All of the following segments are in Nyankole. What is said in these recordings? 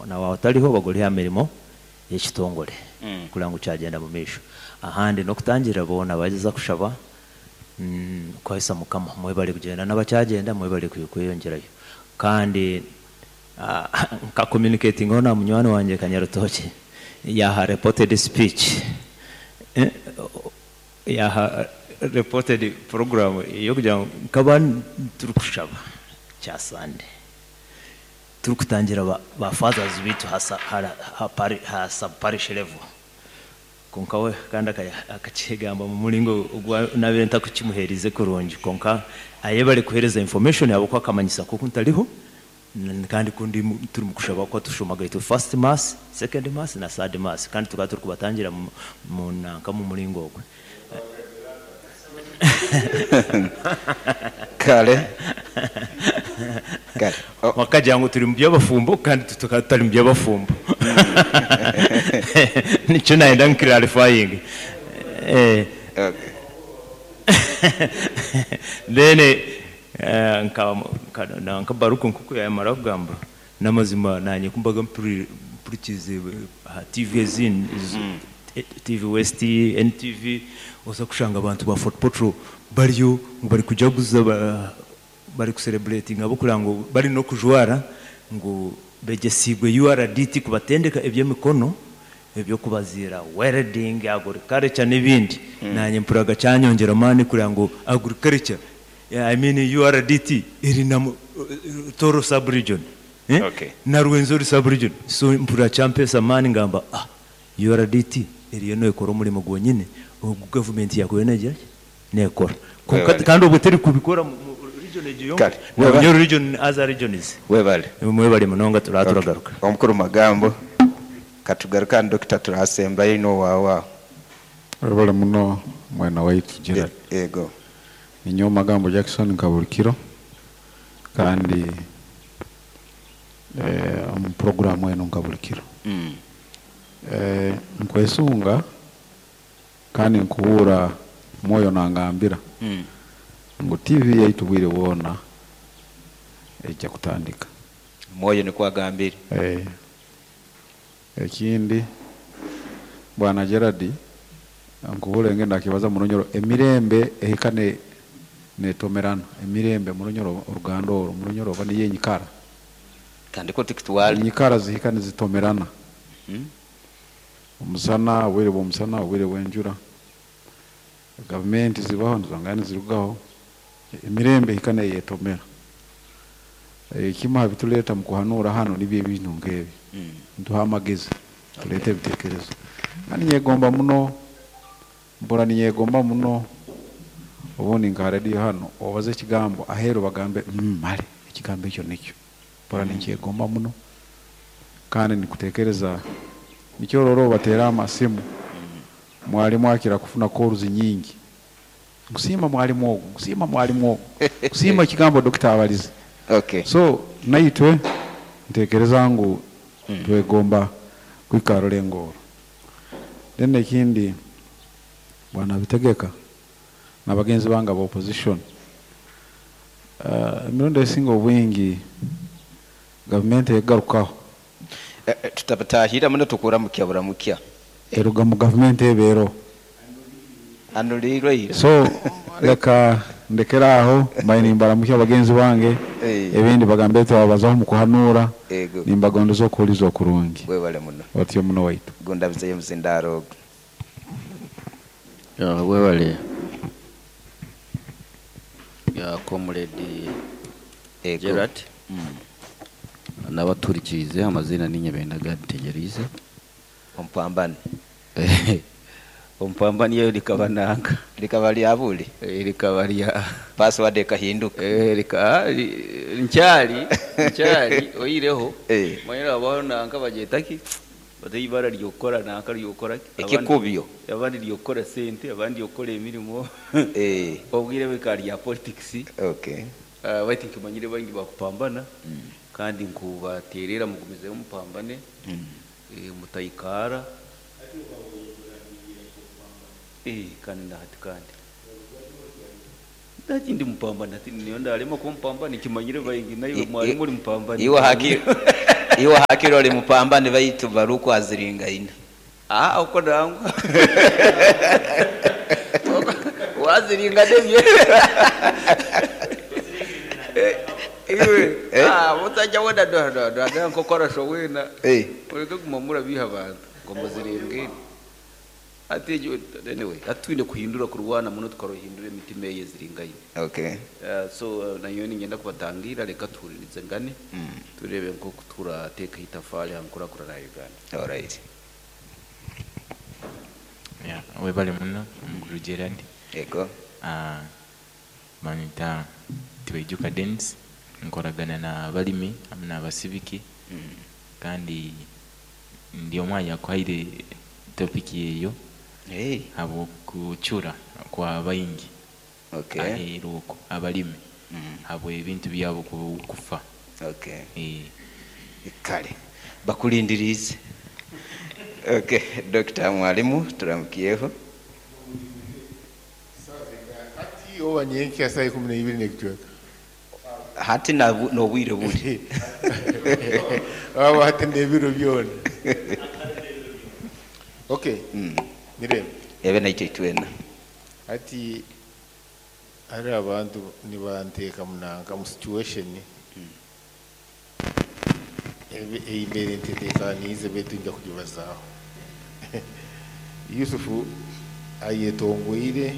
Na waaba otariho obaga ori aha mirimo y'ekitongore kureba ngu kyagyenda mu maisho. Ahandi n'okutangirira boona abagyeza kushaba kuhaisa Mukama. Mwebare kugyenda n'abakyagyenda mwebare kweyongyerayo. Kandi nka communicatingaho na munywani wangye Kanyarutookye yaaha reported speech, yaaha reported program y'okugira ngu nkaba turikushaba kya Sunday. Turikutangira ba fathers baitu aha sub parish level. Kwonka we kandi akakyegamba omu muringo ogu nabaire ntakukimuheerize kurungi. Kwonka ayebare kuheereza information ahabw'okuba akamanyisa ku oku ntariho kandi ku ndi turi mu kushaba ku tushomaga itwe first mass, second mass na third mass kandi tukaba turikubatangira mu nanka mu muringo ogwe. Kare. Kare. Oh. Bakagira ngu turi mu by'abafumbo kandi itwe tukaba tutari mu by'abafumbo. Nikyo nayenda ngu clarifying. Eh. Okay. Then eh, nka nka nanka Baruku nk'oku yamara kugamba, n'amazima naanye ku mbaga mpuri mpurikiize aha TV ezindi, TV West, NTV, oza kushanga abantu ba Fort Portal bariyo ngu barikujaguza bari ku celebratinga ahabw'okureba ngu bari n'okujwara ngu begyesiibwe URDT kubatendeka eby'emikono, eby'okubaziira, welding, agriculture n'ebindi. Naanye mpuriraga kyanyongyera amaani kureba ngu agriculture, I mean URDT eri na Tooro sub region, na Rwenzori sub region. So mpurira kyampeesa amaani ngamba ah URDT eriyo neekora omurimo gwonyine ogu gavumenti yaakubaire neegira ki? Neekora. Kwonka Webale. kandi obwo terikubikora mu mu region egyo yonka, Kare, na weba- Bunyoro region other regions. Webale. Mwebale munonga turaba Okay. turagaruka. Omukuru Magambo, katugaruke ahari Dokita turasembayo oine owaawe aho. Webale muno mwena waitu Gerald. Yego. Ninyowe Magambo Jackson nka buri kiro kandi omu puroguramu enu nka buri kiro. Nkwesunga kandi nkuhuura Mwoyo nangambira ngu TV yaitu obwire bwona eija kutandika. Mwoyo nikwo agambire. Ekindi Bwana Gerald nkuhuura engeri nakibaza mu Runyoro emirembe ehika netomerana, emirembe mu Runyoro oruganda oru mu Runyoro oba niyo enyikara. Kandi kwo tikitwara. Enyikara zihika nizitomerana. Omusana, obwire bw'omusana, obwire bw'enjura. Gavumenti zibaho nizongera nizirugaho, emirembe ehika neyetomera. Ekimu aha bitureeta omu kuhanuura hanu nibyo ebintu nk'ebi. Nituha amagezi, tureeta ebitekerezo. Kandi ninyegomba muno, mpurira ninyegomba muno obundi nka ha rediyo hanu obaze ekigambo aheeru bagambe mm mare ekigambo ekyo nikyo. Mpurira ninkyegomba muno kandi nikutekereza nikyo orora obateera amasimu mwarimu akira kufuna calls nyingi. Nkusiima mwarimu ogu, nkusiima mwarimu ogu, nkusiima ekigambo dokita abarize. Okay. So naitwe ntekereza ngu twegomba kuhika aha rurengo oru. Then ekindi Bwana Bitegeka na bagenzi bange aba opposition, emirundi esinga obwingi gavumenti egarukaho. Tutabataahirira muno tukuramukya buramukya. Eruga mu gavumenti eba eroho. Anuliirwe ira. So leka ndekere aho mbaire nimbaramukya bagenzi bange, ebindi bagambire twababazaho omu kuhanuura, nimbagondeza okuhuriza okurungi. Webale muno. Otyo muno waitu. Gundabizeyo omuzindaaro ogu. Webale Comrade Gerald n'abatuhurikiize amaziina niinye Benda Gad Ntegyereize. Omupambani. Omupambani eryo rikaba nanka. Rikaba rya buri. Rikaba rya. Password ekahinduka. Rika nkyari nkyari oihireho omanyire habaho nanka bagyeta ki? Bata eibara ry'okukora nanka ry'okukora ki? Ekikubyo. Abandi ry'okukora sente, abandi ry'okukora emirimo. Obwire bikaba rya politics. Baitu nkimanyire baingi bakupambana kandi nkubaterera mugumizeho mupambane mutayikaara. Kandi nahati kandi. Nahati ndi mupambani hati niinyowe ndarema kuba omupambani nkimanyire baingi naiwe mwarimu ori mupambani. Iwe hakiri. Iwe hakiri oli mupambani baitu Baruku aziringaine. Ah, uko nangwa. Waziringa nebye. Iwe, ah, mutajya wenda do do do do nkokora showena. Ureke kuguma murabiha abantu ngo muziringe. Ati anyway, atwine kuhindura kurwana muno tukarohindura emitima ye ziringaine. Okay. So nayo ningenda kubatangira reka tuhuririze ngane. Turebe nko turateka itafari hankurakurana ya Uganda. All right. Yeah, webale muno Mukuru Gerard. Ego. Banyita Tibaijuka Dennis, nkoragana na balimi hamwe n'abasibiki. Kandi ndi omwanya akuhaire topic eyo. Hey. Habwokucura kwa baingi. Okay. Aheeru okwo abalimi. Habwe ebintu byabo kufa. Okay. Kale bakulindirize. Okay, Dr. Mwalimu turamukiyeho. Ati oba nyenki saa 12 n'ekicweka. Hati n'obwire buri. Aba hati n'ebiro byona. Okay. Nirebe. Ebe naitwe twena. Ati hari abantu nibanteeka munanka mu situation. Embere ntetekaniize betu nja kugibazaaho. Yusufu ayetongoire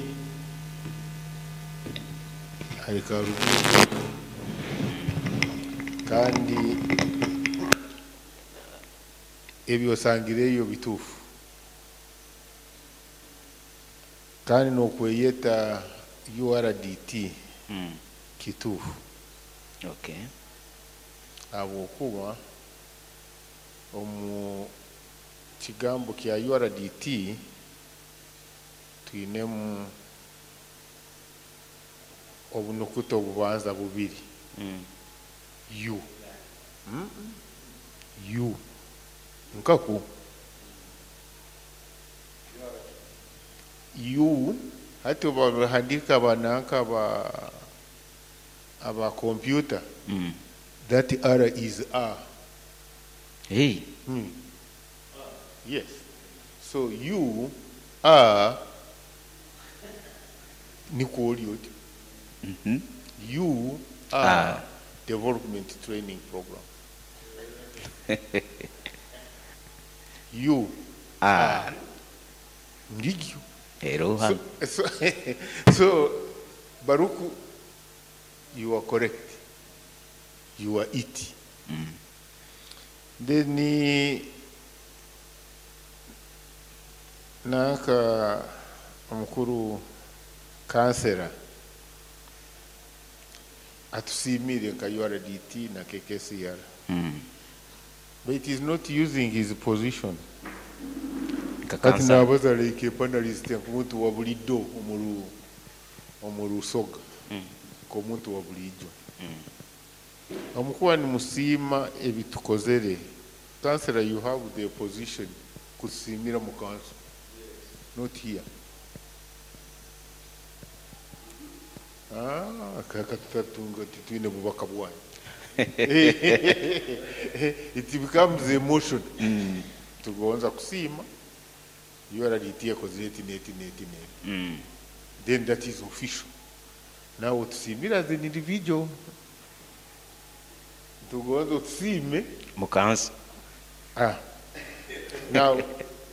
ari Karugutu kandi ebyo osangireyo bituufu kandi n'okweyeta URDT kituufu. Okay. Habwokuba omu kigambo kya URDT twinemu obunukuta obubanza bubiri. U. U. Nkaku. U hati bahandika bananka aba computer. That R is A. Hey. Yes. So U R niko oti. U R Development Training Program. U R Ngigyo. Eroha. So Baruku, you are correct. You are it. Then nanka omukuru kansera atusimire nka URDT na KKCR. But it is not using his position. Kati nabaza like panelist nkumuntu wa bulijjo omu Rusoga. Nk'omuntu wa bulijjo. Omukuba nimusiima ebitukozere. Kansera, you have the position kusimira mu council. Not here. Kaka tutatunga titwine bubaka bwanyu. It becomes emotion. Tugonza kusiima URDT yakoze eti neti neti neti. Then that is official. Now tusimira as an individual. Tugonza tusime mu council. Now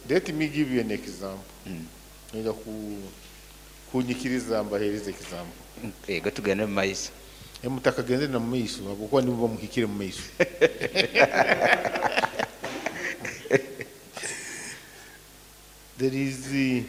let me give you an example. Nenda kunyikiriza mbahereze example. Ego tugende mu maiso. Mutakagenze na mu maiso habwokuba nibo bamuhikire mu maiso. There is the